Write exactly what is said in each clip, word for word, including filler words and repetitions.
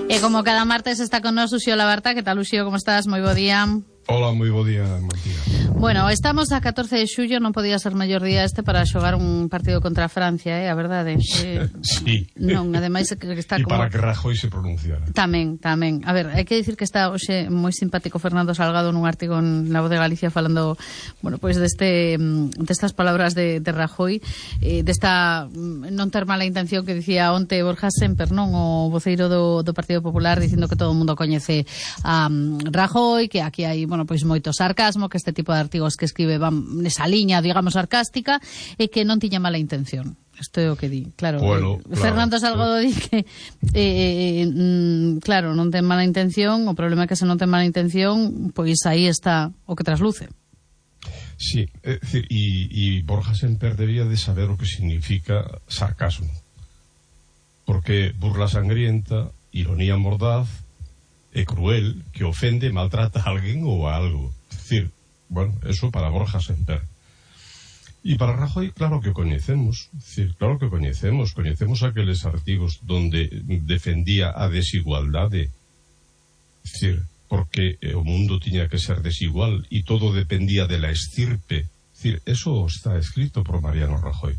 E como cada martes está con nós Uxío Labarta. Que tal, Uxío, como estás? Moi bo día. Hola, moi bo día, Martínez. Bueno, estamos a catorce de xullo, non podía ser mellor día este para xogar un partido contra Francia, eh, a verdade. Eh, sí. Non, ademais que está e como... para que Rajoy se pronunciara. Tamén, tamén. A ver, hai que dicir que está hoxe moi simpático Fernando Salgado nun artigo en La Voz de Galicia falando, bueno, pois pues deste destas palabras de, de Rajoy, eh, desta non ter mala intención que dicía onte Borja Semper, non, o voceiro do, do Partido Popular, dicindo que todo o mundo coñece a um, Rajoy, que aquí hai, bueno, pois moito sarcasmo, que este tipo de artigos que escribe van nesa liña, digamos, sarcástica, e que non tiña mala intención. Isto é o que di, claro. Bueno, eh, Fernando claro, Salgado di que eh, mm, claro, non ten mala intención, o problema é que se non ten mala intención, pois aí está o que trasluce. Sí, é dicir, e, e Borja Semper debía de saber o que significa sarcasmo, porque burla sangrienta, ironía mordaz e cruel, que ofende, maltrata a alguén ou a algo. É dicir, bueno, eso para Borja Semper. E para Rajoy, claro que o coñecemos, é dicir, claro que o coñecemos, coñecemos aqueles artigos donde defendía a desigualdade, é dicir, porque o mundo tiña que ser desigual e todo dependía de la estirpe. É dicir, eso está escrito por Mariano Rajoy.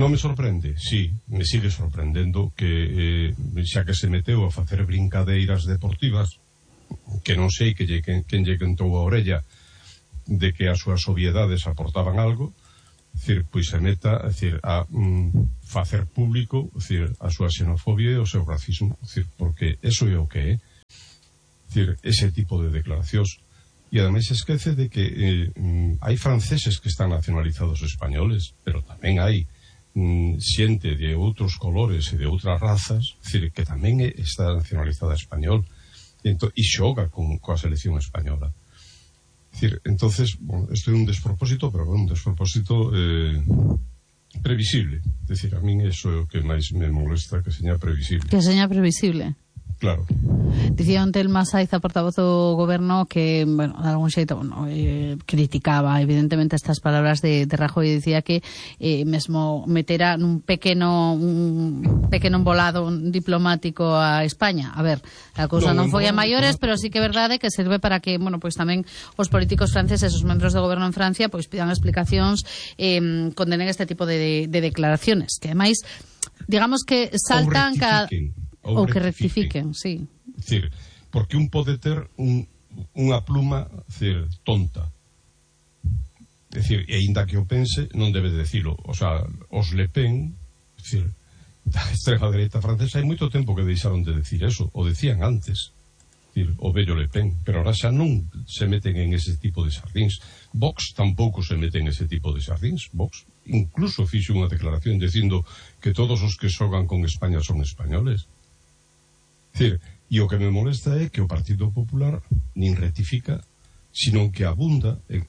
Non me sorprende, sí, me sigue sorprendendo que, eh, xa que se meteu a facer brincadeiras deportivas, que non sei que lle, que, quen lle quentou a orella de que as súas obviedades aportaban algo, decir, pois se meta decir, a mm, facer público decir, a súa xenofobia e o seu racismo, decir, porque eso é o que é, decir, ese tipo de declaracións. E ademais esquece de que eh, mm, hai franceses que están nacionalizados españoles, pero tamén hai mm, xente de outros colores e de outras razas, decir, que tamén está nacionalizada español e, ento, e xoga con, coa selección española. Decir, entonces, bueno, isto é un despropósito, pero bueno, un despropósito eh, previsible. Es decir, a min eso é o que máis me molesta, que seña previsible. Que seña previsible. Claro. Dicía onte el Masaiza, portavoz do goberno, que, bueno, de algún xeito, bueno, eh, criticaba evidentemente estas palabras de, de Rajoy e dicía que eh, mesmo metera nun pequeno un pequeno embolado diplomático a España. A ver, a cousa non, non foi a maiores, pero sí que é verdade que serve para que, bueno, pois tamén os políticos franceses, os membros do goberno en Francia, pois pidan explicacións, eh, condenen este tipo de, de declaraciones, que ademais, digamos que saltan cada... Ou, ou que rectifiquen, sí. Decir, porque un pode ter un, unha pluma decir, tonta. Decir, e ainda que o pense, non debe decilo. O sea, os Le Pen, decir, da extrema dereita francesa, hai moito tempo que deixaron de decir eso, o decían antes. Decir, o vello Le Pen, pero ahora xa non se meten en ese tipo de sardíns. Vox tampouco se mete en ese tipo de sardíns. Vox incluso fixo unha declaración dicindo que todos os que xogan con España son españoles. Decir, e o que me molesta é que o Partido Popular nin rectifica, sino que abunda, e,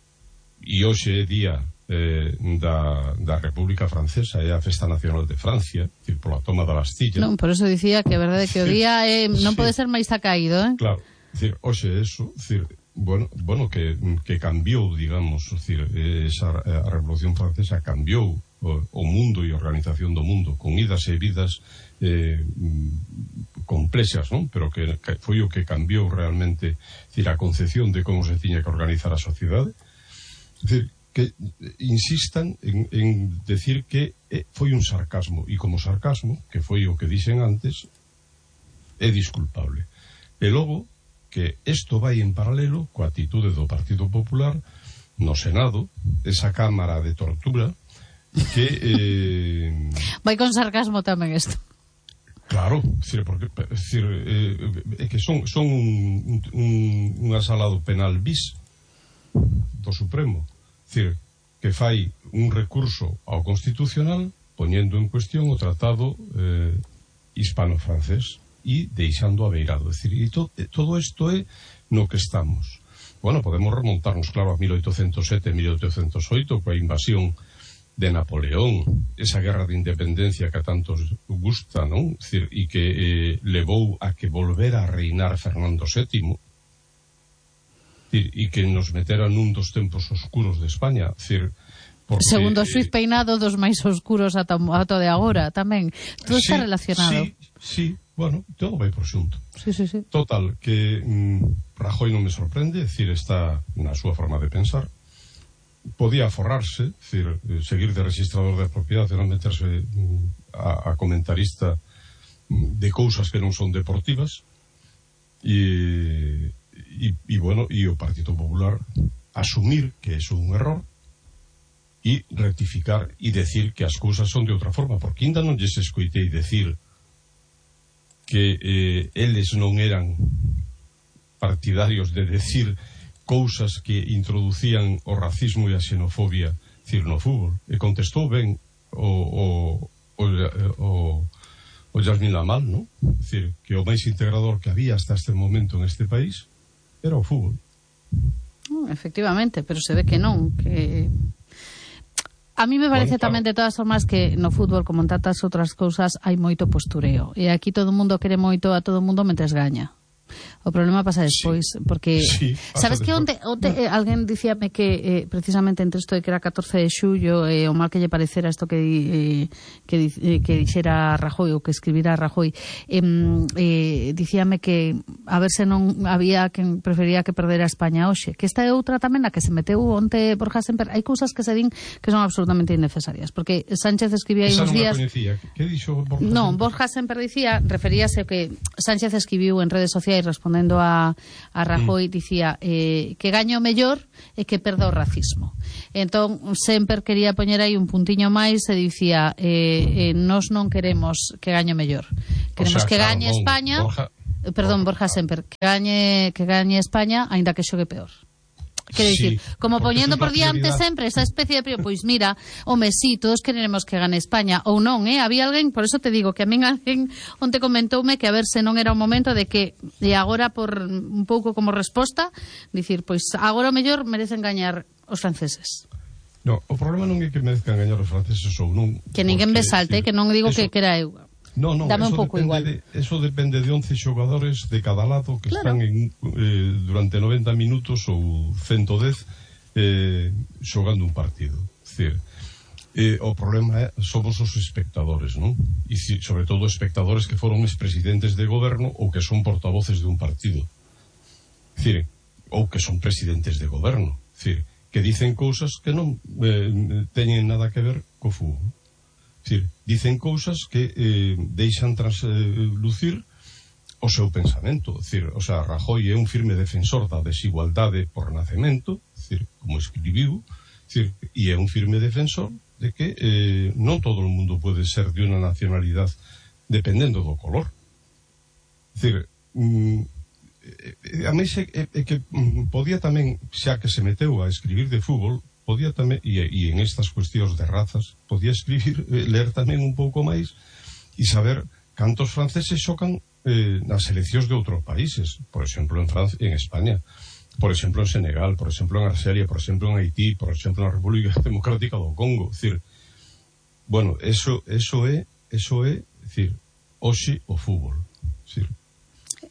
e hoxe é día eh, da, da República Francesa, é a Festa Nacional de Francia, decir, pola toma da Bastilla. Non, por eso dicía que a verdade que o día é, non sí. Pode ser máis acaído, eh? Claro, decir, hoxe eso, decir, bueno, bueno que, que cambiou, digamos, decir, esa, a Revolución Francesa cambiou o, o mundo e a organización do mundo, con idas e vidas eh, complexas, non? Pero que, que foi o que cambiou realmente, decir, a concepción de como se tiña que organizar a sociedade. Decir, que insistan en, en decir que eh, foi un sarcasmo, e como sarcasmo, que foi o que dixen antes, é disculpable. E logo, que isto vai en paralelo coa atitude do Partido Popular no Senado, esa cámara de tortura, que... Eh... vai con sarcasmo tamén isto. Claro, decir, porque, decir, eh, é que son, son un, un, un asalado penal bis do Supremo. Decir, que fai un recurso ao Constitucional poñendo en cuestión o tratado eh, hispano-francés e deixando a beirado. Decir, e to, todo isto é no que estamos. Bueno, podemos remontarnos, claro, a mil oitocentos sete, mil oitocentos oito, coa invasión de Napoleón, esa guerra de independencia que a tantos gusta, non? Decir, e que eh, levou a que volvera a reinar Fernando sétimo, decir, e que nos metera nun dos tempos oscuros de España, decir, porque, segundo o xuiz Peinado, dos máis oscuros ata, ata de agora tamén. Todo sí, está relacionado. Sí, Sí, bueno, todo vai por xunto. Sí, sí, sí. Total, que mm, Rajoy non me sorprende, é dicir, está na súa forma de pensar. Podía aforrarse, é dicir, seguir de registrador de propiedade, non meterse mm, a, a comentarista mm, de cousas que non son deportivas. E, e, e bueno, e o Partido Popular asumir que é un error e rectificar e decir que as cousas son de outra forma, porque ainda non lles escoitei decir que eh, eles non eran partidarios de decir cousas que introducían o racismo e a xenofobia, decir, no fútbol. E contestou ben o o, o, o, o Yasmín Lamal, non? Decir, que o máis integrador que había hasta este momento en este país era o fútbol. Efectivamente, pero se ve que non, que... A mí me parece bueno, tamén, claro, de todas formas, que no fútbol, como en tantas outras cousas, hai moito postureo. E aquí todo o mundo quere moito a todo o mundo mentres gaña. O problema pasa despois, sí, porque sí, sabes que onte, onte eh, alguén dicíame que eh, precisamente entre isto de que era catorce de xullo eh, o mal que lle parecera isto que eh, que, eh, que dixera Rajoy ou que escribira Rajoy, eh, eh, dicíame que a ver se non había quen prefería que perdera España hoxe, que esta é outra tamén a que se meteu onte Borja Semper. Hai cousas que se din que son absolutamente innecesarias, porque Sánchez escribía aí uns días. Que dixo Borja Non, Semper? Borja Semper dicía, referíase que Sánchez escribiu en redes sociais respondendo a, a Rajoy, mm. dicía eh, que gaño o mellor e que perda o racismo. Entón, Semper quería poñer aí un puntiño máis e dicía eh, eh, nós non queremos que gaño o mellor. Queremos o sea, que gañe claro, España, Borja, perdón, Borja Semper, que gañe, que gañe España, aínda que xogue peor. Quero dicir, sí, como poñendo por diante sempre esa especie de... Pois mira, home, sí, todos queremos que gane España, ou non, eh? Había alguén, por eso te digo, que a min alguén onte comentoume que a ver se non era o momento de que, e agora por un pouco como resposta, dicir, pois agora o mellor merecen gañar os franceses. No, o problema non é que merezcan gañar os franceses ou non. Que ninguén me salte, que non digo eso... que, que era eu. No, no, dame un pouco igual. De, eso depende de once xogadores de cada lado que claro. están en, eh, durante noventa minutos ou ciento dez eh, xogando un partido. Es decir, eh, o problema é, somos os espectadores, non? E si, sobre todo espectadores que foron expresidentes de goberno ou que son portavoces de un partido. Es decir, ou que son presidentes de goberno. Es decir, que dicen cousas que non eh, teñen nada que ver co fútbol. Decir, dicen cousas que eh, deixan traslucir o seu pensamento. Decir, o sea, Rajoy é un firme defensor da desigualdade por nacemento, decir, como escribiu, decir, e é un firme defensor de que eh, non todo o mundo pode ser de unha nacionalidade dependendo do color. Decir, mm, a mí é, é, é que mm, podía tamén, xa que se meteu a escribir de fútbol, podía tamén, e, e en estas cuestións de razas, podía escribir, eh, ler tamén un pouco máis e saber cantos franceses xocan eh, nas seleccións de outros países, por exemplo en Francia, en España, por exemplo en Senegal, por exemplo en Argelia, por exemplo en Haití, por exemplo na República Democrática do Congo. Es decir, bueno, eso, eso é eso é, decir, hoxe o fútbol. Es decir,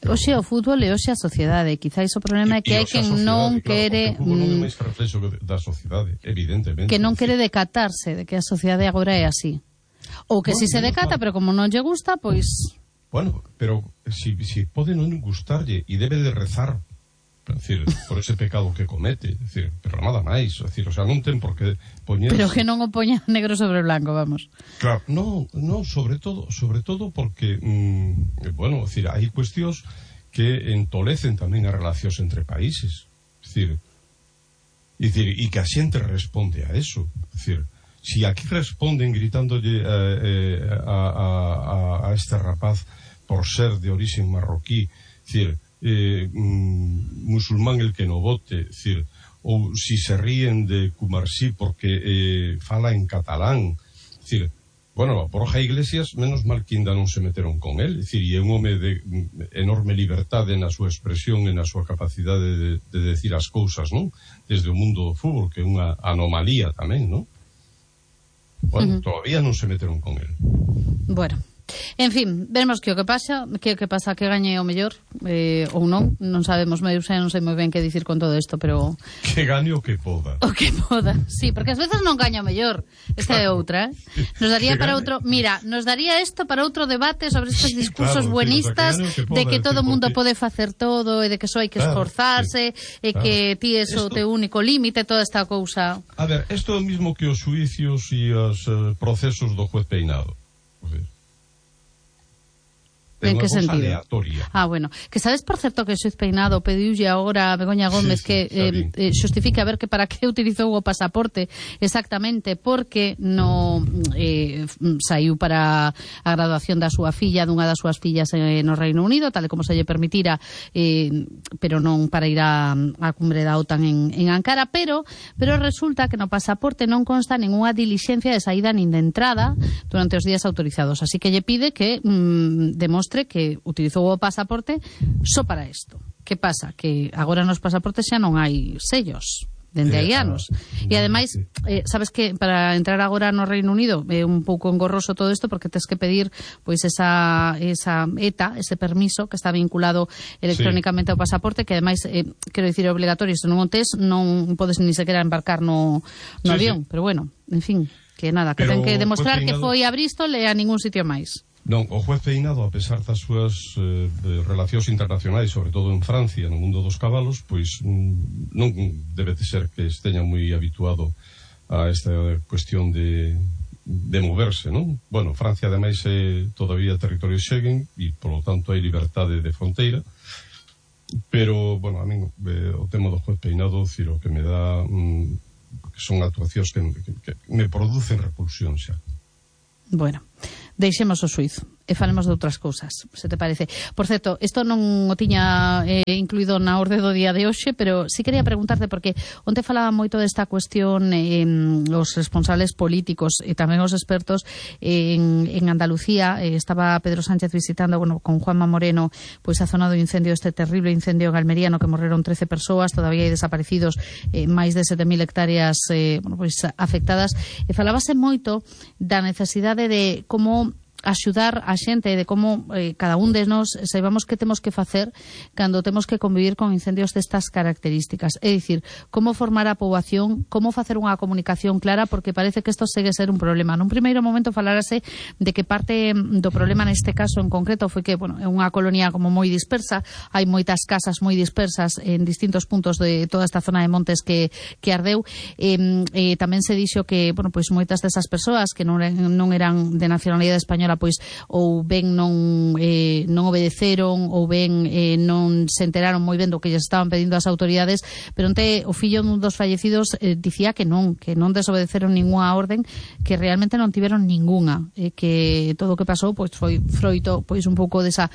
hoxe o fútbol e hoxe a sociedade. Quizáis o problema é que hai quen non quere... Claro, o fútbol non é máis reflexo da sociedade, evidentemente. Que non quere decatarse de que a sociedade agora é así. Ou que bueno, si se decata, pero como non lle gusta, pois... Bueno, pero si, si pode non gustarlle e debe de rezar, decir, por ese pecado que comete, decir, pero nada máis, decir, o sea, non ten por que poñer... Pero que non o poña negro sobre blanco, vamos. Claro, no, no, sobre todo, sobre todo porque, mmm, bueno, decir, hai cuestións que entolecen tamén as relacións entre países, decir, e que a xente responde a eso, decir, si aquí responden gritándolle eh, a, a, a, a este rapaz por ser de origen marroquí, decir, Eh, mm, musulmán el que no vote, decir, ou si se ríen de Cumarsí porque eh, fala en catalán, decir, bueno, Borja Iglesias menos mal que ainda non se meteron con él, decir, e é un home de enorme liberdade na súa expresión e na súa capacidade de, de decir as cousas, non? Desde o mundo do fútbol, que é unha anomalía tamén, non? Bueno, uh-huh. Todavía non se meteron con él. Bueno, En fin, veremos que o que pasa, que o que pasa que gañe o mellor, eh, ou non, non sabemos, eu sei, non sei moi ben que dicir con todo isto, pero... Que gañe o que poda. O que poda, sí, porque ás veces non gaña o mellor, esta claro. É outra, eh? Nos daría que para gane... outro, mira, nos daría isto para outro debate sobre estes discursos claro, buenistas que poda, de que todo o mundo porque... pode facer todo e de que só hai que claro, esforzarse sí, e claro. Que ti é o teu único límite, toda esta cousa. A ver, isto é o mismo que os xuicios e os uh, procesos do juez Peinado. A ver. En que sentido? Aleatoria. Ah, bueno. Que sabes, por certo, que o xuiz Peinado pediulle agora a Begoña Gómez sí, sí, que eh, eh, xustifique a ver que para que utilizou o pasaporte exactamente porque no eh, saiu para a graduación da súa filla, dunha das súas fillas eh, no Reino Unido, tal e como se lle permitira, eh, pero non para ir a, a cumbre da OTAN en, en Ankara, pero pero resulta que no pasaporte non consta ninguna dilixencia de saída nin de entrada durante os días autorizados, así que lle pide que mm, demostre que utilizou o pasaporte só para isto. Que pasa? Que agora nos pasaportes xa non hai sellos dende hai anos. E ademais, eh, sabes que para entrar agora no Reino Unido é un pouco engorroso todo isto porque tens que pedir pois esa esa E T A, ese permiso que está vinculado electrónicamente sí. Ao pasaporte, que ademais, eh, quero dicir, é obligatorio, se non o tes non podes ni sequera embarcar no, no sí, avión, sí. Pero bueno, en fin, que nada, que Pero, ten que demostrar que foi a Bristol e a ningún sitio máis. Non, o juez Peinado, a pesar das súas eh, relacións internacionais, sobre todo en Francia, no mundo dos cabalos, pois mm, non debe de ser que esteña moi habituado a esta cuestión de, de moverse, non? Bueno, Francia, ademais, é todavía territorio Schengen e, polo tanto, hai liberdade de fronteira, pero, bueno, a mí eh, o tema do juez Peinado, ciro, que me dá mm, que son actuacións que, que, que me producen repulsión xa. Bueno, deixemos o xuizo e falemos de outras cousas, se te parece. Por certo, isto non o tiña eh, incluído na orde do día de hoxe, pero sí quería preguntarte, porque onte falaba moito desta cuestión eh, os responsables políticos e tamén os expertos en, en Andalucía. Eh, estaba Pedro Sánchez visitando, bueno, con Juanma Moreno, pois a zona do incendio, este terrible incendio en Almería, no que morreron trece persoas, todavía hai desaparecidos, eh, máis de sete mil hectáreas eh, bueno, pois afectadas. E falábase moito da necesidade de como axudar a xente, de como eh, cada un de nós saibamos que temos que facer cando temos que convivir con incendios destas características, é dicir, como formar a poboación, como facer unha comunicación clara, porque parece que isto segue ser un problema. Nun primeiro momento falárase de que parte do problema neste caso en concreto foi que, bueno, é unha colonia como moi dispersa, hai moitas casas moi dispersas en distintos puntos de toda esta zona de montes que, que ardeu, e eh, tamén se dixo que, bueno, pois moitas desas persoas que non, non eran de nacionalidade española pois ou ben non eh, non obedeceron ou ben eh, non se enteraron moi ben do que lles estaban pedindo as autoridades, pero onte o fillo dun dos fallecidos eh, dicía que non, que non desobedeceron ninguna orden, que realmente non tiveron ninguna, eh, que todo o que pasou pois foi froito pois un pouco desa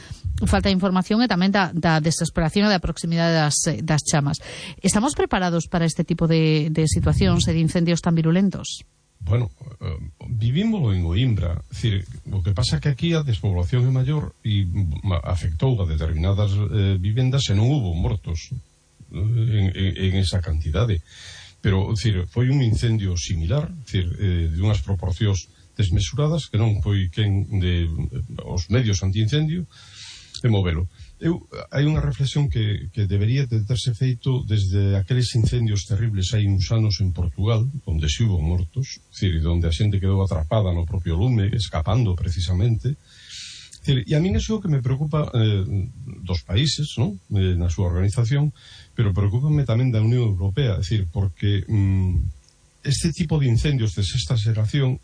falta de información e tamén da, da desesperación e da proximidade das, das chamas. Estamos preparados para este tipo de, de situacións e de incendios tan virulentos? Bueno, uh, vivímoslo en Oimbra, é dicir, o que pasa que aquí a despoblación é maior e afectou a determinadas eh, vivendas e non hubo mortos eh, en, en, en esa cantidade, pero, é dicir, foi un incendio similar, é dicir, eh, de unhas proporcións desmesuradas que non foi quen de eh, os medios antiincendio de movelo. Eu, hai unha reflexión que, que debería de terse feito desde aqueles incendios terribles hai uns anos en Portugal, onde se hubo mortos, decir, onde a xente quedou atrapada no propio lume, escapando precisamente. Decir, e a min iso que me preocupa eh, dos países, ¿no? eh, na súa organización, pero preocúpame tamén da Unión Europea, decir, porque mm, este tipo de incendios de sexta xeración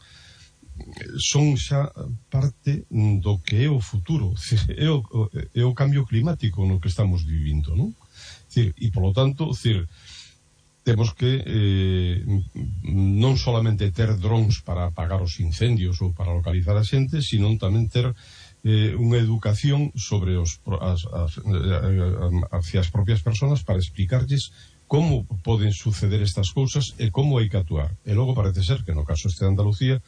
son xa parte do que é o futuro, é o, é o cambio climático no que estamos vivindo, non? E, polo tanto, cir, temos que eh, non solamente ter drones para apagar os incendios ou para localizar a xente, sino tamén ter eh, unha educación sobre os, as, as, hacia as propias persoas para explicarlles como poden suceder estas cousas e como hai que actuar. E logo parece ser que no caso este de Andalucía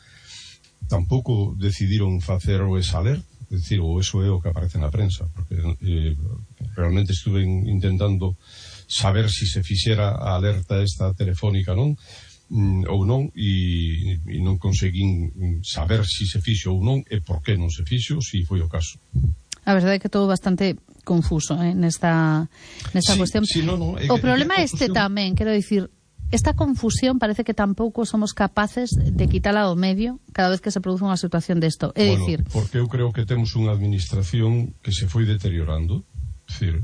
tampouco decidiron facer o exaler, é dicir, o eso é o que aparece na prensa, porque eh, realmente estuve intentando saber si se fixera a alerta esta telefónica, non? mm, ou non, e, e non conseguín saber se se fixo ou non e por que non se fixo, se foi o caso. A verdade é que todo bastante confuso eh, nesta, nesta sí, cuestión. Sí, no, no, é, o problema é este tamén, quero dicir, esta confusión parece que tampouco somos capaces de quitala do medio cada vez que se produce unha situación desto. É bueno, dicir, porque eu creo que temos unha administración que se foi deteriorando, é dicir,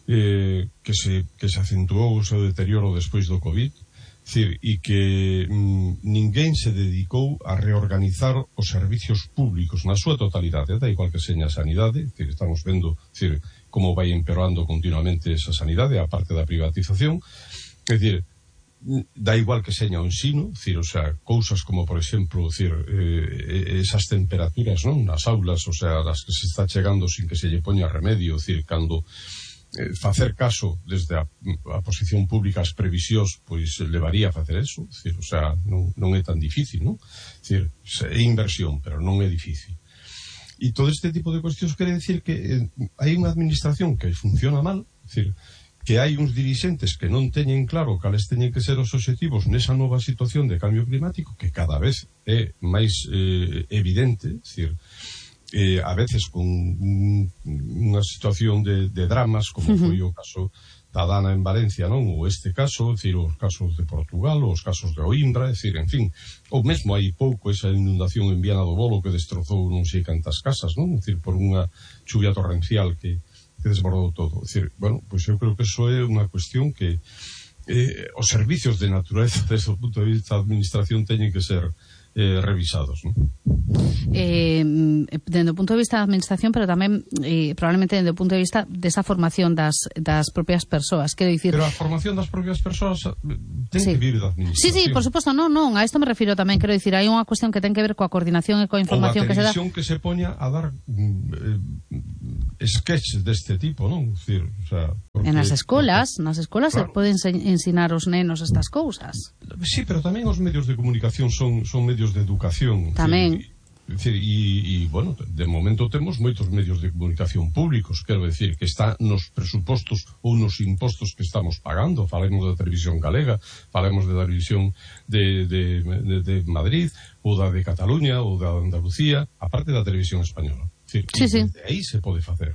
eh, que, se, que se acentuou o seu deterioro despois do COVID, Cir, e que mm, ninguén se dedicou a reorganizar os servicios públicos na súa totalidade, da igual que seña a sanidade, cir, estamos vendo cir, como vai empeorando continuamente esa sanidade, a parte da privatización, é dicir, da igual que seña o ensino, cir, o sea, cousas como, por exemplo, cir, eh, esas temperaturas, non, nas aulas, o sea, las que se está chegando sin que se lle poña remedio, cir, cando Eh, facer caso desde a, a posición pública as previsións pois levaría a facer eso, decir, o sea, non, non é tan difícil, non? Decir, é inversión, pero non é difícil. E todo este tipo de cuestións quere decir que eh, hai unha administración que funciona mal, decir, que hai uns dirixentes que non teñen claro cales teñen que ser os obxectivos nesa nova situación de cambio climático que cada vez é máis eh, evidente, decir, Eh, a veces con un, unha situación de, de dramas como uh-huh. foi o caso da Dana en Valencia, non? Ou este caso, decir, os casos de Portugal, os casos de Oimbra, decir, en fin, ou mesmo hai pouco esa inundación en Viana do Bolo que destrozou non sei cantas casas, non? Decir, por unha chuvia torrencial que, que desbordou todo. Decir, bueno, pois eu creo que eso é unha cuestión que eh, os servicios de natureza desde o punto de vista da administración teñen que ser Eh, revisados, ¿no? Eh, dende o punto de vista da administración, pero tamén eh, probablemente dende o punto de vista desa formación das, das propias persoas, quero dicir... Pero a formación das propias persoas ten sí. que vir da administración. Sí, sí, por suposto, non, non, a isto me refiro tamén, quero dicir, hai unha cuestión que ten que ver coa coordinación e coa información que se dá... Ou a televisión que se poña a dar eh, sketches deste tipo, non? Decir, o sea, porque, en as escolas, porque, nas escolas claro. Se poden ensinar os nenos estas cousas. Sí, pero tamén os medios de comunicación son, son medios de educación. Tamén. Decir, e, e, bueno, de momento temos moitos medios de comunicación públicos, quero decir, que está nos presupostos ou nos impostos que estamos pagando. Falemos da televisión galega, falemos da televisión de, de, de, de Madrid, ou da de Cataluña, ou da Andalucía, aparte da televisión española. Decir, sí, sí. De aí se pode facer.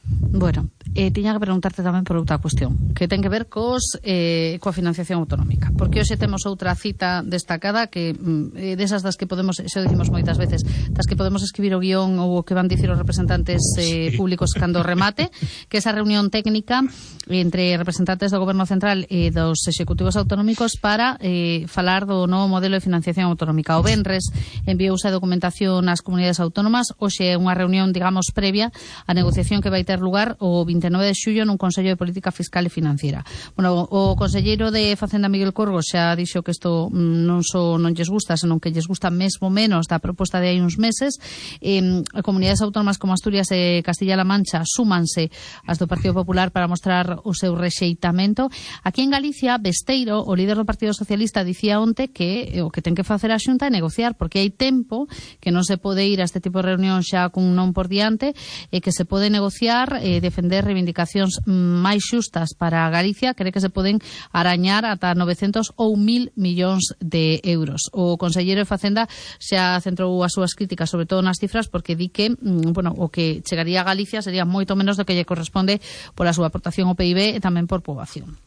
Bueno, eh, tiña que preguntarte tamén por outra cuestión que ten que ver cos, eh, coa financiación autonómica, porque hoxe temos outra cita destacada que eh, desas das que podemos, xa dicimos moitas veces, das que podemos escribir o guión ou o que van dicir os representantes eh, sí. públicos cando remate, que esa reunión técnica entre representantes do Goberno Central e dos executivos autonómicos para eh, falar do novo modelo de financiación autonómica. O venres enviouse a documentación ás comunidades autónomas, hoxe é unha reunión, digamos, previa á negociación que vai ter lugar o vinte e nove de xullo nun Consello de Política Fiscal e Financiera. Bueno, o conselleiro de Facenda Miguel Corgos xa dixo que isto non só non lles gusta, senón que lles gusta mesmo menos da proposta de hai uns meses. Eh, comunidades autónomas como Asturias e Castilla-La Mancha súmanse as do Partido Popular para mostrar o seu rexeitamento. Aquí en Galicia, Besteiro, o líder do Partido Socialista, dicía onte que o que ten que facer a Xunta é negociar, porque hai tempo que non se pode ir a este tipo de reunión xa cun non por diante e que se pode negociar e defender reivindicacións máis xustas para Galicia, cree que se poden arañar ata novecentos ou mil millóns de euros. O conselleiro de Facenda xa centrou as súas críticas sobre todo nas cifras, porque di que, bueno, o que chegaría a Galicia sería moito menos do que lle corresponde pola súa aportación ao P I B e tamén por poboación.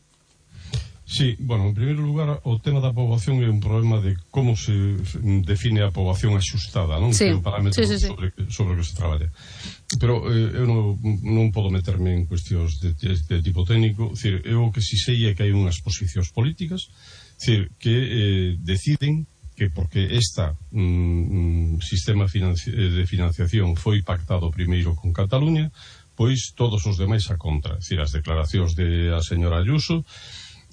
Sí, bueno, en primeiro lugar, o tema da poboación é un problema de como se define a poboación axustada, non? Sí, que é o parámetro sí, sí, sí. sobre, sobre o que se traballa. Pero eh, eu non, non podo meterme en cuestións de, de, de tipo técnico. Decir, eu o que si sei é que hai unhas posicións políticas, decir, que eh, deciden que porque esta mm, sistema financi de financiación foi pactado primeiro con Cataluña, pois todos os demais a contra. Decir, as declaracións de a señora Ayuso,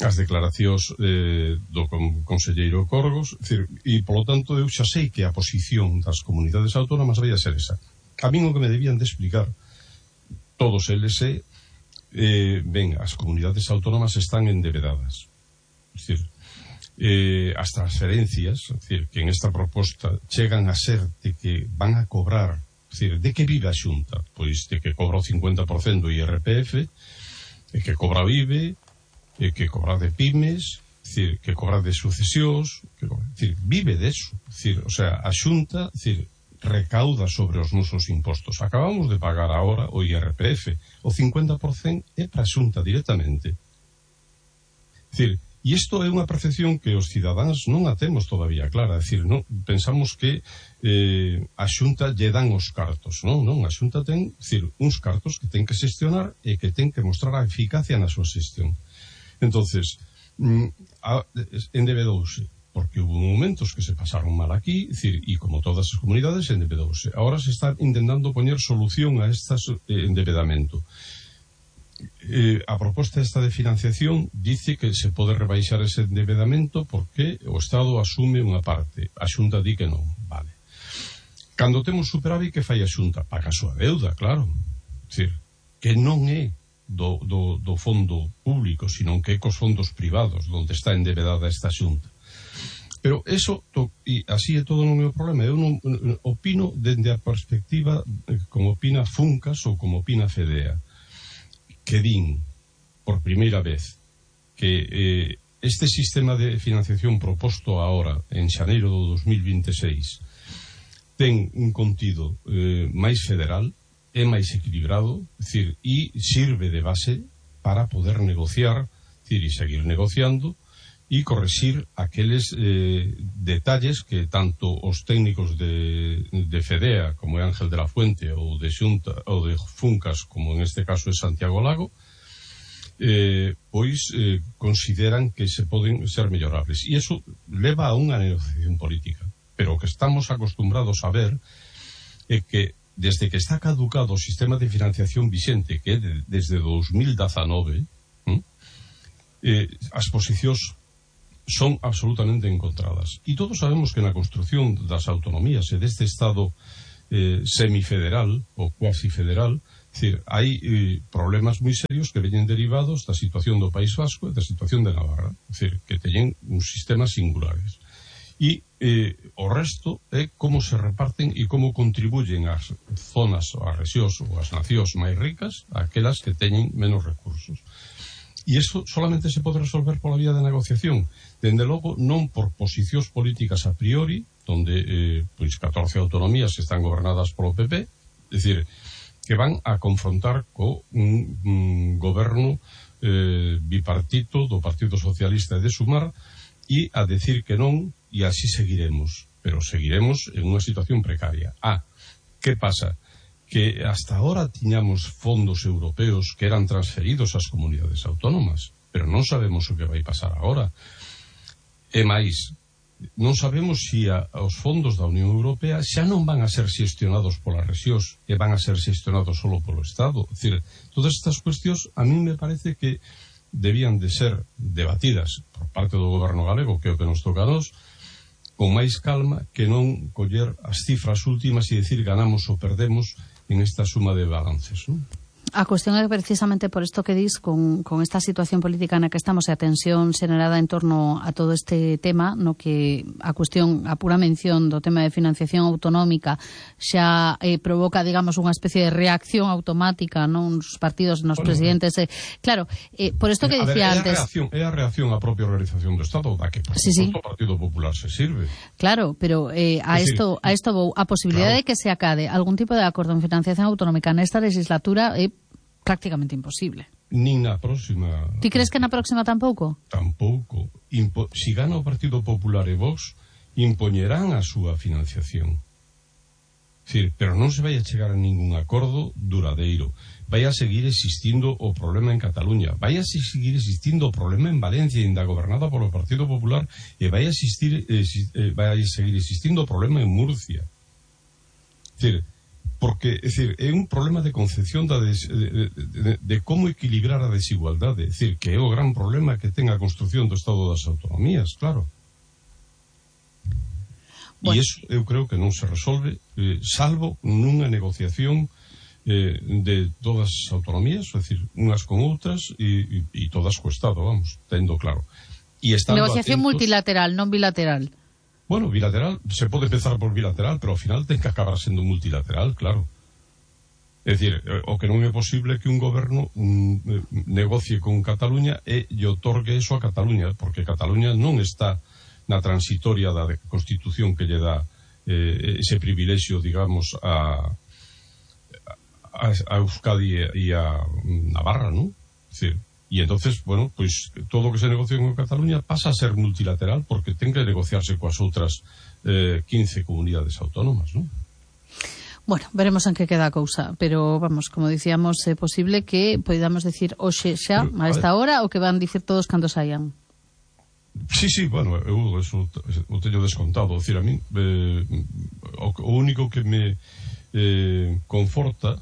as declaracións eh, do conselleiro Corgos, decir, e polo tanto eu xa sei que a posición das comunidades autónomas vai a ser esa. A min o que me debían de explicar todos eles é eh, ben, as comunidades autónomas están endebedadas, é dicir, eh, as transferencias, é dicir, que en esta proposta chegan a ser de que van a cobrar, é dicir, de que vive a Xunta? Pois de que cobra o cincuenta por cento do I R P F, e que cobra o I B E, e que cobra de pymes, é decir, que cobra de sucesións, que cobra, decir, vive deso, decir, o sea, a Xunta, decir, recauda sobre os nosos impostos. Acabamos de pagar agora o I R P F, o cincuenta por cento é para a Xunta directamente. Decir, e isto é unha percepción que os cidadáns non a temos todavía clara, decir, non pensamos que eh, a Xunta lle dan os cartos, non, non, a Xunta ten, decir, uns cartos que ten que xestionar e que ten que mostrar a eficacia na súa xestión. Entonces, endebedouse, porque hubo momentos que se pasaron mal aquí, decir, e como todas as comunidades endebedouse. Ahora se está intentando poñer solución a este eh, endebedamento. Eh, a proposta esta de financiación dice que se pode rebaixar ese endebedamento porque o Estado asume unha parte, a Xunta di que non, vale. Cando temos superávit, que fai a Xunta? Paga a súa deuda, claro, decir, que non é do, do, do fondo público, sino que é cos fondos privados onde está endebedada esta Xunta. Pero eso, to, e así é todo non é o problema. Eu non opino dende a perspectiva como opina Funcas ou como opina Fedea, que din, por primeira vez, que eh, este sistema de financiación proposto agora, en xaneiro do dos mil vinte e seis, ten un contido eh, máis federal, é máis equilibrado, decir, e sirve de base para poder negociar, decir, e seguir negociando, e correxir aqueles eh, detalles que tanto os técnicos de, de Fedea, como é Ángel de la Fuente, ou de Xunta, ou de Funcas, como en este caso é Santiago Lago, eh, pois eh, consideran que se poden ser mellorables. E iso leva a unha negociación política. Pero o que estamos acostumbrados a ver é que desde que está caducado o sistema de financiación vixente, que é de, desde dos mil dezanove, ¿eh? Eh, as posicións son absolutamente encontradas. E todos sabemos que na construción das autonomías e deste Estado eh, semifederal ou cuasi federal, decir, hai eh, problemas moi serios que veñen derivados da situación do País Vasco e da situación de Navarra, decir, que teñen uns sistemas singulares. E eh, o resto é como se reparten e como contribuyen as zonas ou as rexións ou as nacións máis ricas aquelas que teñen menos recursos. E iso solamente se pode resolver pola vía de negociación. Dende logo, non por posicións políticas a priori, onde eh, pois catorce autonomías están gobernadas polo P P, é dicir, que van a confrontar co un, un goberno eh, bipartito do Partido Socialista e de Sumar e a decir que non, e así seguiremos. Pero seguiremos en unha situación precaria. Ah, que pasa? Que hasta ahora tiñamos fondos europeos que eran transferidos ás comunidades autónomas, pero non sabemos o que vai pasar agora. E máis, non sabemos se a, os fondos da Unión Europea xa non van a ser xestionados polas rexións e van a ser xestionados solo polo Estado. É dicir, todas estas cuestións a mí me parece que debían de ser debatidas por parte do goberno galego, que é o que nos toca a nós, con máis calma, que non coller as cifras últimas e decir ganamos ou perdemos en esta suma de balances, non? A cuestión é precisamente por isto que dis con, con esta situación política na que estamos e a tensión xenerada en torno a todo este tema, no que a cuestión, a pura mención do tema de financiación autonómica xa eh, provoca, digamos, unha especie de reacción automática, non, nos partidos, nos bueno, presidentes. Eh, claro, eh, por isto que dicía ver, é antes... A reacción, é a reacción á propia organización do Estado, da que por sí, sí. o Partido Popular se sirve. Claro, pero eh, a isto a isto vou, a posibilidade claro. de que se acade algún tipo de acordo en financiación autonómica nesta legislatura é eh, prácticamente imposible. Nin na próxima. Ti crees que na próxima tampouco? Tampouco. Impo... Si gana o Partido Popular e Vox, impoñerán a súa financiación. Decir, pero non se vai a chegar a ningún acordo duradeiro. Vai a seguir existindo o problema en Cataluña. Vai a seguir existindo o problema en Valencia, ainda gobernada polo Partido Popular, e vai a, existir, eh, vai a seguir existindo o problema en Murcia. Decir, porque, é dicir, é un problema de concepción da des, de, de, de, de como equilibrar a desigualdade, é dicir, que é o gran problema que ten a construción do Estado das Autonomías, claro. Bueno. E iso eu creo que non se resolve eh, salvo nunha negociación eh, de todas as autonomías, é dicir, unhas con outras e, e, e todas co Estado, vamos, tendo claro. E negociación atentos, multilateral, non bilateral. Bueno, bilateral, se pode empezar por bilateral, pero ao final ten que acabar sendo multilateral, claro. É dicir, o que non é posible que un goberno mm, negocie con Cataluña e lle otorgue eso a Cataluña, porque Cataluña non está na transitoria da Constitución que lle dá eh, ese privilexio, digamos, a, a, a Euskadi e a Navarra, non? É dicir, y entonces, bueno, pues todo o que se negocia con Cataluña pasa a ser multilateral porque ten que negociarse coas outras eh, quince comunidades autónomas, non? Bueno, veremos en que queda a cousa, pero vamos, como dicíamos, é posible que podamos decir hoxe xa, a esta hora, o que van dicir todos cando saian. Sí, sí, bueno, eu eso o teño descontado, decir, a mí eh, o, o único que me eh, conforta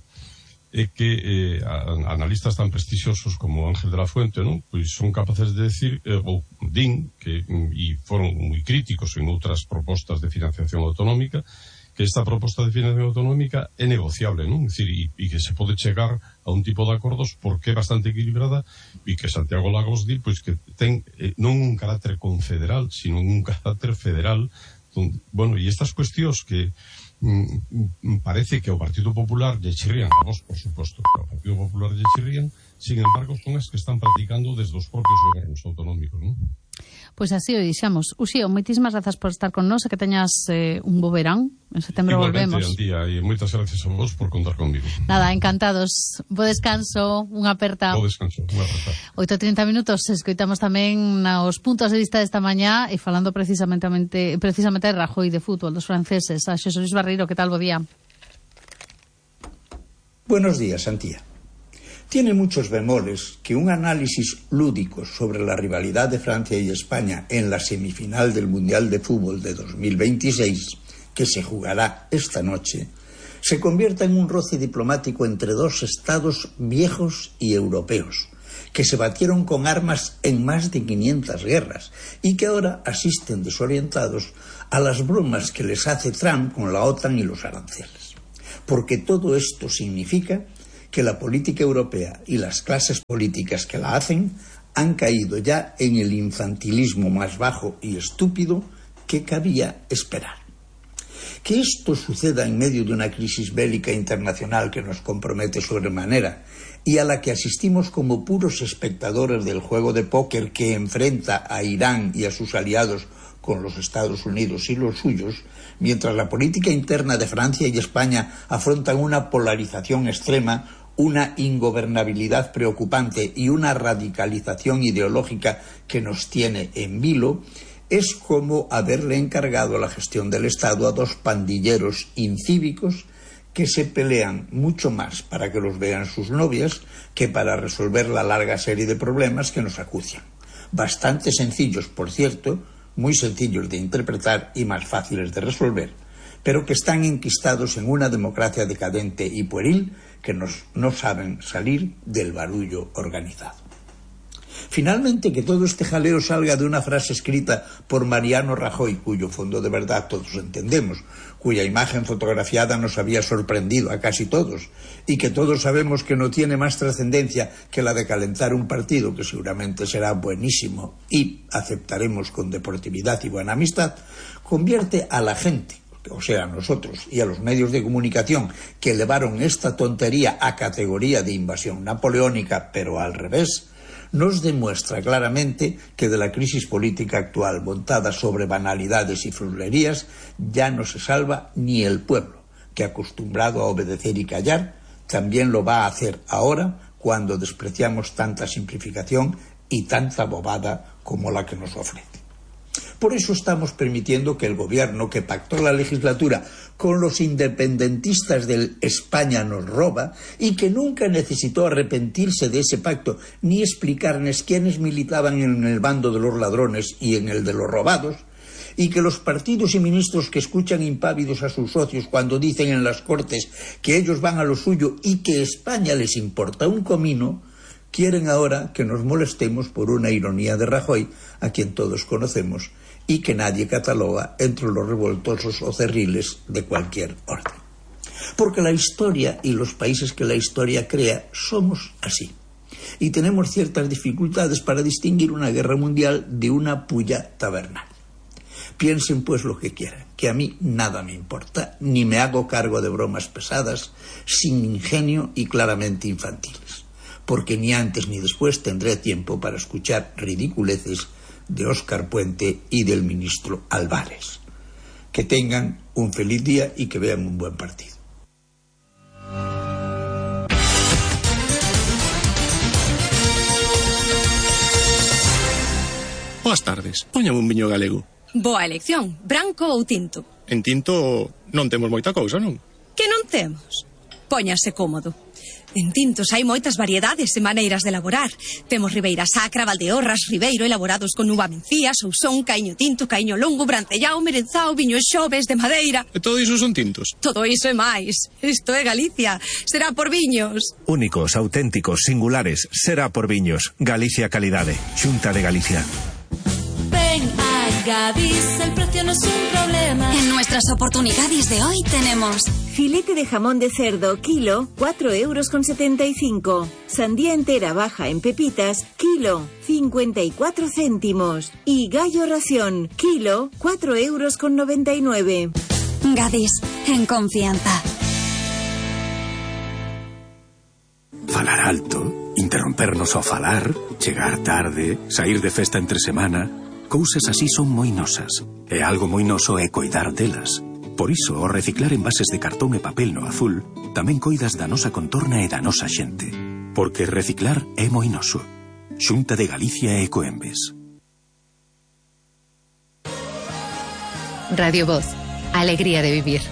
é que eh, analistas tan prestixiosos como Ángel de la Fuente, non? Pois son capaces de decir, eh, ou din, que e foron moi críticos en outras propostas de financiación autonómica, que esta proposta de financiación autonómica é negociable, non? É dicir, e, e que se pode chegar a un tipo de acordos porque é bastante equilibrada e que Santiago Lagos di, pois que ten eh, non un carácter confederal, sino un carácter federal. Donde, bueno, e estas cuestións que Mm, parece que ao Partido Popular lle chirrían, a vos, por suposto, que ao Partido Popular lle chirrían, sin embargo, son as que están practicando desde os propios gobernos autonómicos, non? Pois así o dixemos. Uxío, moitísimas grazas por estar con nós e que teñas eh, un bo verán. En setembro igualmente, volvemos. Antía, e moitas gracias a vos por contar conmigo. Nada, encantados. Bo descanso, unha aperta. Bo descanso, unha aperta. oito e trinta minutos, escoitamos tamén os puntos de vista desta mañá e falando precisamente precisamente de Rajoy, de fútbol, dos franceses. A Xosé Luis Barreiro, que tal, bo día? Buenos días, Antía. Tiene muchos bemoles que un análisis lúdico sobre la rivalidad de Francia y España en la semifinal del Mundial de Fútbol de dos mil veintiséis, que se jugará esta noche, se convierta en un roce diplomático entre dos estados viejos y europeos, que se batieron con armas en más de quinientas guerras y que ahora asisten desorientados a las bromas que les hace Trump con la OTAN y los aranceles. Porque todo esto significa que la política europea y las clases políticas que la hacen han caído ya en el infantilismo más bajo y estúpido que cabía esperar. Que esto suceda en medio de una crisis bélica internacional que nos compromete sobremanera y a la que asistimos como puros espectadores del juego de póker que enfrenta a Irán y a sus aliados con los Estados Unidos y los suyos, mientras la política interna de Francia y España afrontan una polarización extrema, una ingobernabilidad preocupante y una radicalización ideológica que nos tiene en vilo, es como haberle encargado la gestión del Estado a dos pandilleros incívicos que se pelean mucho más para que los vean sus novias que para resolver la larga serie de problemas que nos acucian. Bastante sencillos, por cierto, muy sencillos de interpretar y más fáciles de resolver, pero que están enquistados en una democracia decadente y pueril que nos, no saben salir del barullo organizado. Finalmente, que todo este jaleo salga de una frase escrita por Mariano Rajoy, cuyo fondo de verdad todos entendemos, cuya imagen fotografiada nos había sorprendido a casi todos, y que todos sabemos que no tiene más trascendencia que la de calentar un partido que seguramente será buenísimo y aceptaremos con deportividad y buena amistad, convierte a la gente, o sea, a nosotros y a los medios de comunicación que elevaron esta tontería a categoría de invasión napoleónica, pero al revés, nos demuestra claramente que de la crisis política actual montada sobre banalidades y frulerías ya no se salva ni el pueblo, que acostumbrado a obedecer y callar, también lo va a hacer ahora cuando despreciamos tanta simplificación y tanta bobada como la que nos ofrece. Por eso estamos permitiendo que el gobierno que pactó la legislatura con los independentistas del España nos roba y que nunca necesitó arrepentirse de ese pacto ni explicarnos quiénes militaban en el bando de los ladrones y en el de los robados, y que los partidos y ministros que escuchan impávidos a sus socios cuando dicen en las Cortes que ellos van a lo suyo y que España les importa un comino, quieren ahora que nos molestemos por una ironía de Rajoy, a quien todos conocemos, y que nadie cataloga entre los revoltosos o cerriles de cualquier orden. Porque la historia y los países que la historia crea somos así. Y tenemos ciertas dificultades para distinguir una guerra mundial de una pulla tabernal. Piensen pues lo que quieran, que a mí nada me importa, ni me hago cargo de bromas pesadas, sin ingenio y claramente infantiles, porque ni antes ni después tendré tiempo para escuchar ridiculeces de Óscar Puente y del ministro Álvarez. Que tengan un feliz día y que vean un buen partido. Boas tardes, póñame un viño galego. Boa elección, branco ou tinto? En tinto non temos moita cousa, non? Que non temos? Póñase cómodo. En tintos hai moitas variedades e maneiras de elaborar. Temos Ribeira Sacra, Valdeorras, Ribeiro, elaborados con uva mencía, Sousón, Caíño Tinto, Caíño Longo, Brancellao, Merenzao, Viño Xoves, de madeira. E todo iso son tintos? Todo iso e máis. Isto é Galicia. Será por viños. Únicos, auténticos, singulares. Será por viños. Galicia Calidade. Xunta de Galicia. Ven a Gadis, el precio no es un problema. En nuestras oportunidades de hoy tenemos filete de jamón de cerdo, kilo, cuatro euros con setenta y cinco. Sandía entera baja en pepitas, kilo, cincuenta y cuatro céntimos. Y gallo ración, kilo, cuatro euros con noventa y nueve. Gadis, en confianza. Falar alto, interrompernos ao falar, chegar tarde, sair de festa entre semana, cousas así son moi nosas. E algo moi noso é coidar delas. Por iso, ao reciclar envases de cartón e papel no azul, tamén coidas da nosa contorna e da nosa xente. Porque reciclar é moi noso. Xunta de Galicia e Ecoembes. Radio Voz. Alegría de vivir.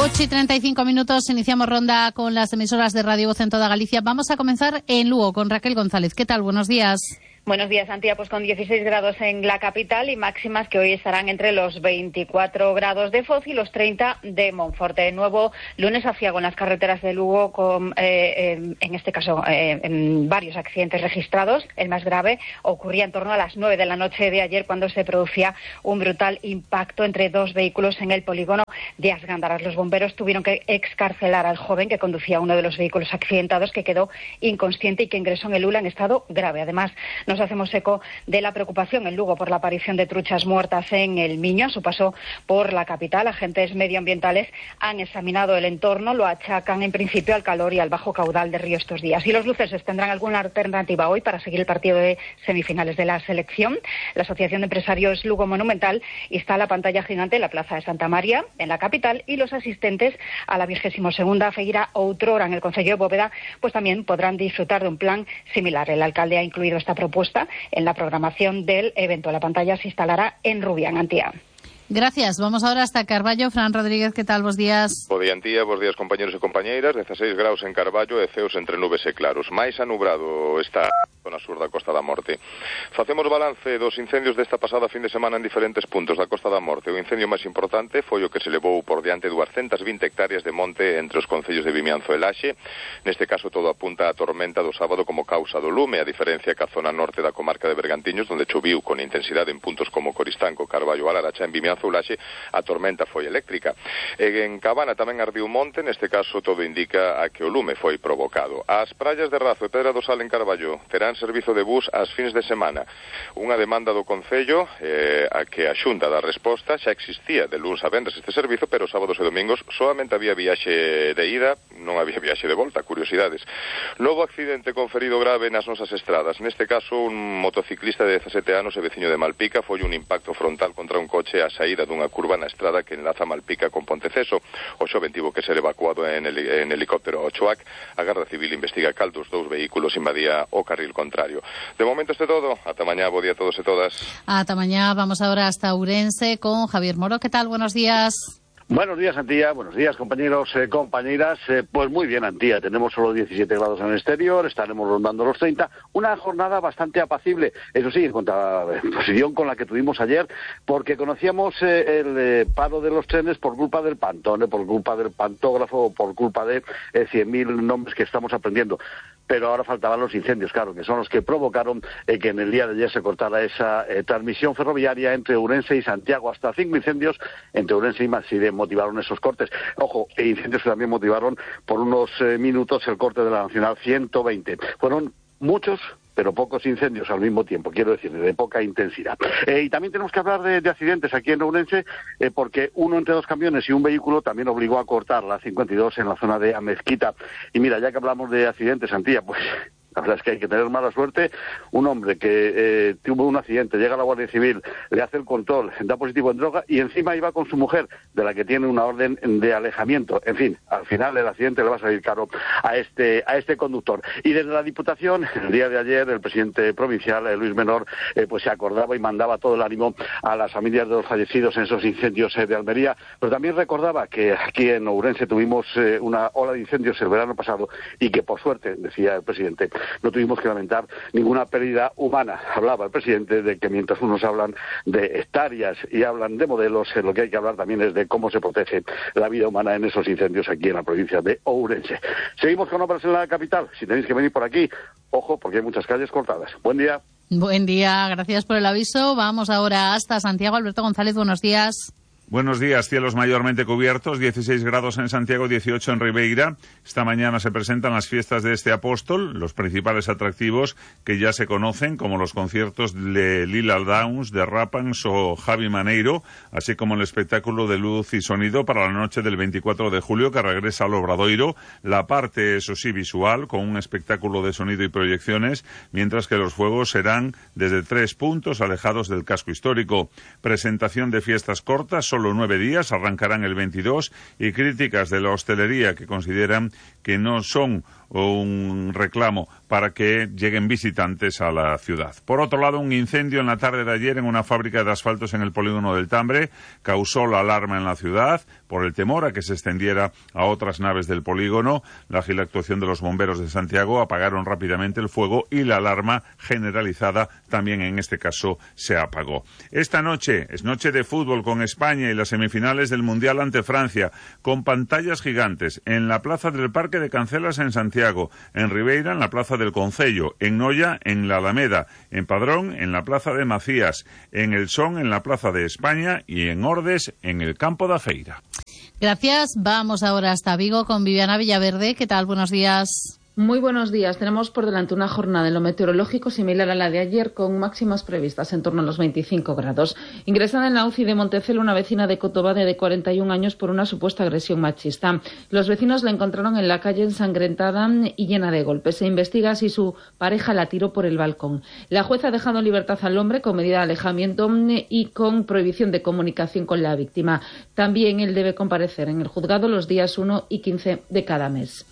ocho y treinta y cinco minutos, iniciamos ronda con las emisoras de Radio Voz en toda Galicia. Vamos a comenzar en Lugo con Raquel González. ¿Qué tal? Buenos días. Buenos días, Antía. Pues con dieciséis grados en la capital y máximas que hoy estarán entre los veinticuatro grados de Foz y los treinta de Monforte. De nuevo, lunes aciago en las carreteras de Lugo, con, eh, eh, en este caso, eh, en varios accidentes registrados. El más grave ocurría en torno a las nueve de la noche de ayer, cuando se producía un brutal impacto entre dos vehículos en el polígono de Asgándaras. Los bomberos tuvieron que excarcelar al joven que conducía uno de los vehículos accidentados, que quedó inconsciente y que ingresó en el U L A en estado grave. Además, nos hacemos eco de la preocupación en Lugo por la aparición de truchas muertas en el Miño. A su paso por la capital, agentes medioambientales han examinado el entorno, lo achacan en principio al calor y al bajo caudal de río estos días. Y los luceses tendrán alguna alternativa hoy para seguir el partido de semifinales de la selección. La Asociación de Empresarios Lugo Monumental instala pantalla gigante en la Plaza de Santa María, en la capital, y los asistentes a la vigésimo segunda Feira Outrora en el Concello de Bóveda pues también podrán disfrutar de un plan similar. El alcalde ha incluido esta propuesta en la programación del evento. La pantalla se instalará en Rubián, Antía. Gracias. Vamos ahora hasta Carballo. Fran Rodríguez, ¿qué tal? Bos días. Bo día, Antía. Bos días, compañeros e compañeiras. dezasseis graus en Carballo e ceos entre nubes e claros. Mais anubrado está a zona sur da Costa da Morte. Facemos balance dos incendios desta pasada fin de semana en diferentes puntos da Costa da Morte. O incendio máis importante foi o que se levou por diante duascentas vinte hectáreas de monte entre os concellos de Vimianzo e Laxe. Neste caso todo apunta a tormenta do sábado como causa do lume, a diferencia que a zona norte da comarca de Bergantiños, onde choviu con intensidade en puntos como Coristanco, Carballo, Alaracha, en Vimianzo Laxe, a tormenta foi eléctrica. E en Cabana tamén ardiu monte, neste caso todo indica a que o lume foi provocado. As praias de Razo e Pedra do Sal en Carballo terán servizo de bus ás fins de semana. Unha demanda do Concello eh, a que a Xunta da resposta. Xa existía de luns a venres este servizo, pero sábados e domingos solamente había viaxe de ida, non había viaxe de volta. Curiosidades. Novo accidente con ferido grave nas nosas estradas. Neste caso, un motociclista de dezasete anos e veciño de Malpica foi un impacto frontal contra un coche a saída dunha curva na estrada que enlaza Malpica con Ponteceso. O xoven tivo que ser evacuado en, heli en helicóptero ao Choac. A Garda Civil investiga cal dos dous vehículos invadía o carril contrario. De momento este todo. Ata mañá, bo día a todos e todas. Ata mañá. Vamos ahora hasta Ourense con Javier Moro. ¿Qué tal? Buenos días. Buenos días, Antía. Buenos días, compañeros, eh, compañeras. Eh, pues muy bien, Antía. Tenemos solo diecisiete grados en el exterior, estaremos rondando los treinta. Una jornada bastante apacible, eso sí, en contraposición con la que tuvimos ayer, porque conocíamos eh, el eh, paro de los trenes por culpa del pantone, por culpa del pantógrafo, por culpa de eh, cien mil nombres que estamos aprendiendo. pero ahora faltaban los incendios, claro, que son los que provocaron eh, que en el día de ayer se cortara esa eh, transmisión ferroviaria entre Ourense y Santiago. Hasta cinco incendios entre Ourense y Maside motivaron esos cortes. Ojo, e incendios que también motivaron por unos eh, minutos el corte de la Nacional ciento veinte. Fueron muchos, pero pocos incendios al mismo tiempo, quiero decir, de poca intensidad. Eh, y también tenemos que hablar de, de accidentes aquí en Ourense, eh, porque uno entre dos camiones y un vehículo también obligó a cortar la cincuenta y dos en la zona de Amezquita. Y mira, ya que hablamos de accidentes, Antía, pues la verdad es que hay que tener mala suerte. Un hombre que eh, tuvo un accidente, llega a la Guardia Civil, le hace el control, da positivo en droga y encima iba con su mujer, de la que tiene una orden de alejamiento. En fin, al final el accidente le va a salir caro a este a este conductor. Y desde la Diputación, el día de ayer, el presidente provincial, eh, Luis Menor, eh, pues se acordaba y mandaba todo el ánimo a las familias de los fallecidos en esos incendios eh, de Almería, pero también recordaba que aquí en Ourense tuvimos eh, una ola de incendios el verano pasado y que por suerte, decía el presidente, no tuvimos que lamentar ninguna pérdida humana. Hablaba el presidente de que mientras unos hablan de hectáreas y hablan de modelos, eh, lo que hay que hablar también es de cómo se protege la vida humana en esos incendios aquí en la provincia de Ourense. Seguimos con obras en la capital. Si tenéis que venir por aquí, ojo, porque hay muchas calles cortadas. Buen día. Buen día, gracias por el aviso. Vamos ahora hasta Santiago. Alberto González, buenos días. Buenos días. Cielos mayormente cubiertos, dieciséis grados en Santiago, dieciocho en Ribeira. Esta mañana se presentan las fiestas de este apóstol, los principales atractivos que ya se conocen, como los conciertos de Lila Downs, de Rapans o Javi Maneiro, así como el espectáculo de luz y sonido para la noche del veinticuatro de julio, que regresa al Obradoiro. La parte, eso sí, visual, con un espectáculo de sonido y proyecciones, mientras que los fuegos serán desde tres puntos alejados del casco histórico. Presentación de fiestas cortas, solo nueve días, arrancarán el veintidós, y críticas de la hostelería que consideran que no son un reclamo para que lleguen visitantes a la ciudad. Por otro lado, un incendio en la tarde de ayer en una fábrica de asfaltos en el polígono del Tambre causó la alarma en la ciudad por el temor a que se extendiera a otras naves del polígono. La ágil actuación de los bomberos de Santiago apagaron rápidamente el fuego y la alarma generalizada también en este caso se apagó. Esta noche es noche de fútbol con España y las semifinales del Mundial ante Francia, con pantallas gigantes en la plaza del Parque de Cancelas en Santiago, en Ribeira en la plaza del Concello, en Noia en la Alameda, en Padrón en la plaza de Macías, en El Son en la plaza de España y en Ordes en el campo da Feira. Gracias. Vamos ahora hasta Vigo con Viviana Villaverde. ¿Qué tal? Buenos días. Muy buenos días. Tenemos por delante una jornada en lo meteorológico similar a la de ayer, con máximas previstas en torno a los veinticinco grados. Ingresada en la U C I de Montecelo una vecina de Cotobade de cuarenta y un años por una supuesta agresión machista. Los vecinos la encontraron en la calle ensangrentada y llena de golpes. Se investiga si su pareja la tiró por el balcón. La jueza ha dejado en libertad al hombre con medida de alejamiento y con prohibición de comunicación con la víctima. También él debe comparecer en el juzgado los días uno y quince de cada mes.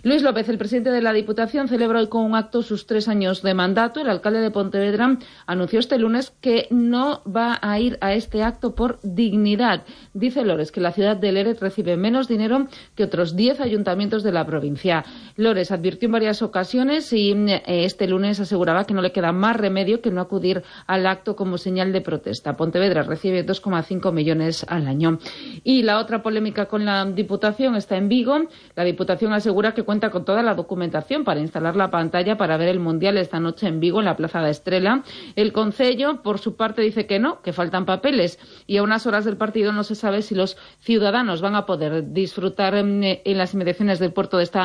Luis López, el presidente de la Diputación, celebra hoy con un acto sus tres años de mandato. El alcalde de Pontevedra anunció este lunes que no va a ir a este acto por dignidad. Dice Lores que la ciudad de Lérez recibe menos dinero que otros diez ayuntamientos de la provincia. Lores advirtió en varias ocasiones y eh, este lunes aseguraba que no le queda más remedio que no acudir al acto como señal de protesta. Pontevedra recibe dos coma cinco millones al año. Y la otra polémica con la Diputación está en Vigo. La Diputación asegura que cuenta con toda la documentación para instalar la pantalla para ver el Mundial esta noche en Vigo, en la Plaza da Estrela. El Concello, por su parte, dice que no, que faltan papeles, y a unas horas del partido no se sabe si los ciudadanos van a poder disfrutar en, en las inmediaciones del puerto de esta